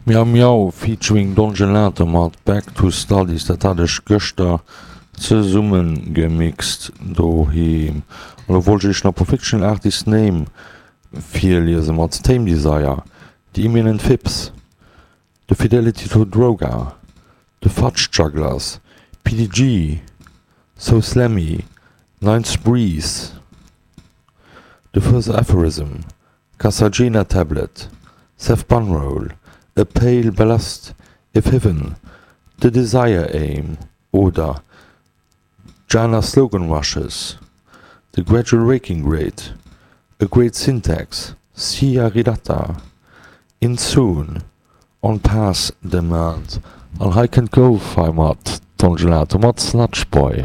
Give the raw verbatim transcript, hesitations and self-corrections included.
Miau Miau featuring Don Gelato mat Back to Studies, dat hat ech gëschter zesummengemixt doheem. An lo wollt ech iech nach e puer Fictional Artist Name virliesen mat Tame Desire, The Imminent Phipps, The Fidelity to Droga, The Fudge Jugglers, P D G, So Slammy, Ninth Breeze, The First Aphorism, Casagena Tablet, Seth Bunroll, A Pale Ballast, If Heaven, The Desire Aim oder Jana Slogan Rushes, The Gradual Waking Rate, A Great Syntax, Sia Ridatta, In Soon, On Pass Demand. An hei kënnt Go-Fi mat Don Gelato mat Snatch Boy.